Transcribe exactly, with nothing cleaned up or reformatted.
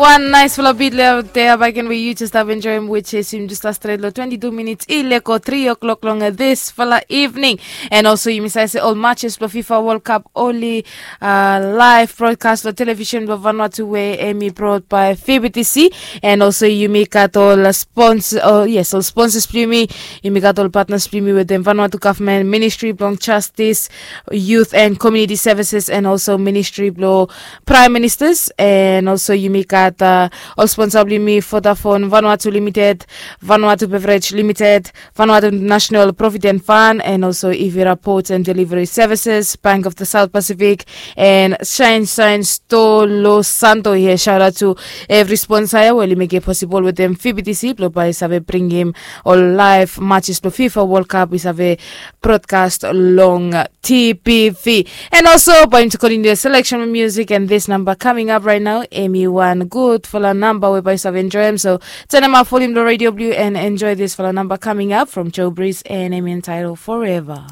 Wan naisfala bit lea dea baken we yu jes stap enjoim, which is yumi jes stap stret long twenty-two minits i leko three o'clock long disfala evening. And also yumi save se ol matches blong fifa world cup oli uh, live broadcast long television blong Vanuatu we emi brought by fbtc. And also yumi gat ol sponsor, oh yes, ol sponsors blong yumi. Yumi gat ol partners blong yumi wetem Vanuatu government, ministry blong justice, youth and community services, and also ministry blong prime ministers. And also yumi gat uh, ol sponsor blong yumi: Vodafone Vanuatu Limited, Vanuatu Beverage Limited, Vanuatu National Provident Fund, and also Ivira Ports and Delivery Services, Bank of the South Pacific, and Shine Shine Store Los Santo here. Shout out to every sponsor here. Well, you make it possible with them fbtc blong bai save bringim ol live matches blong fifa world cup we save broadcast long tbv. And also bai yumi continue the selection of music, and this number coming up right now, emi wan gudfala number we bai save enjoy him. So turn him up, volume the radio blue, and enjoy this fala number coming up from Joe Breeze and emi entitled Forever.